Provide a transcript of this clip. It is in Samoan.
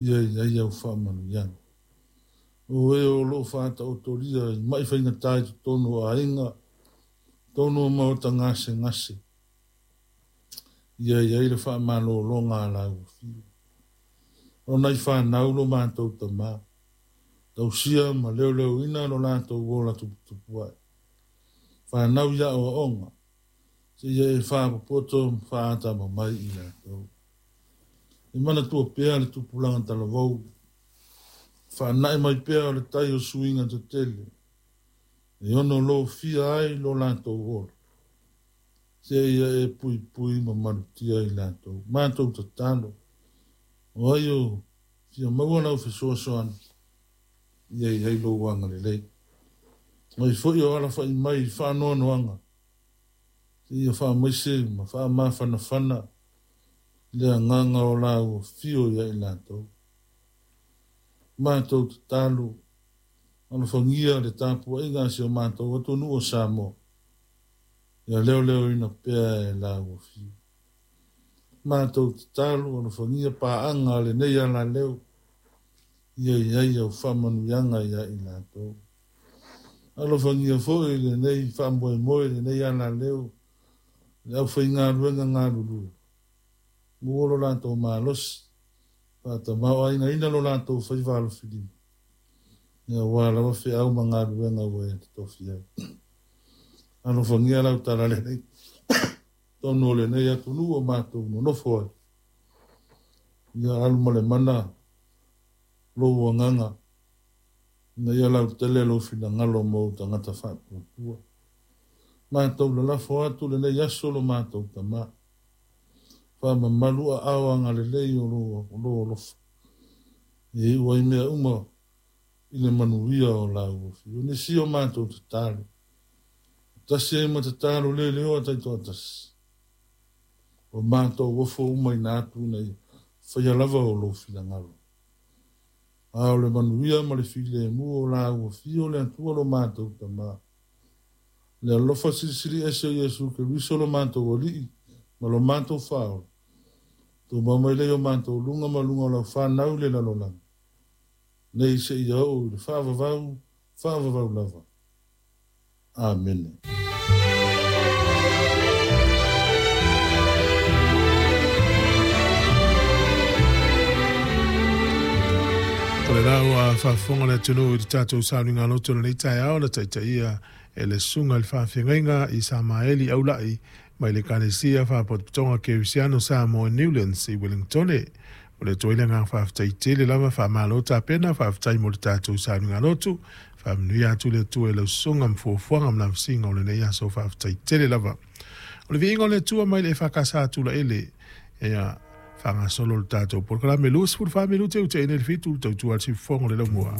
Ia i ai au faamanuiaga. O e o lo o faataotolia i mai faigata i totonu o aiga, totonu o maota gasegase, ia i ai le faamalologa a lau Afio. O nai fanau lo matou tama, tausia ma leoleoina lo latou ola tuputupu ae. Fanau i aoaoga, seia e faapopoto ma faatamamai i latou. E manatua pea le tupulaga talavou, faanae mai pea o le tai o suiga tetele, e ono lofia ai lo latou ola, seia e puipui ma malutia i latou. Matou tatalo, o ai o fia maua lau fesoasoani, ia i ai lou agalelei. O ai foi o alafai mai i faanoanoaga, seia faamaise ma faamafanafana le agaga o lau afio ia i latou. Matou tatalo, alofagia le tapuaiga a si o matou atunuu o Samoa, ia leoleoina pea e lau afio. Matou tatalo, alofagia paaga a lenei alaleo, ia i ai au faamanuiaga ia i latou. Alofagia foi lenei faamoemoe, lenei alaleo, le aufaigaluega galulue, maua lo latou malosi, faatamaoaigaina lo latou faiva alofilima, aua lava feau ma galuega ua e totofi ai. Alofagia lau talalelei totonu o lenei atunuu o matou nonofo ai, ia alu ma le mana lou agaga, ina ia lautele lou finagalo mo ou tagata faatuatua. Matou lalafo atu lenei aso lo matou tama, faamamalu aao agalelei o lou alofa, e iu ai mea uma i le manuia o lau afio. Nisi o matou tatalo, tasi ai ma tatalo leleoa taitoatasi, o matou ofo uma ina atu ina ia faia lava o lou finagalo. A o le manuia ma le filemu o lau afio le Atua lo matou tama, le alofa silisili ese o Iesu Keriso lo matou Alii ma lo matou Faaola, tumau mai lea i o matou luga ma luga o lau fanau i le lalolagi, nei seia oo i le faavavau, faavavau lava. Amene. O le la ua faafofoga le atunuu i le tatou sauniga loto i lenei taeao na taitaia e le Susuga i le Faafeagaiga i Samaeli Aulai mai le Ekalesia Faapotopotoga Kerisiano Samoa i Newlands i Wellingtone. O le atu ai le agaga faafetai tele lava, faamalo tapena, faafetai mo le tatou sauniga lotu. Faamanuia atu le Atua i lau susuga ma fuafuaga ma lavasiga o lenei aso, faafetai tele lava. O le viiga o le Atua mai le EFKS a Tulaele, ia faagasolo le tatou polokalame 24 minute ua te'i nei le 7 le tautua a le siufofoga o le laumua.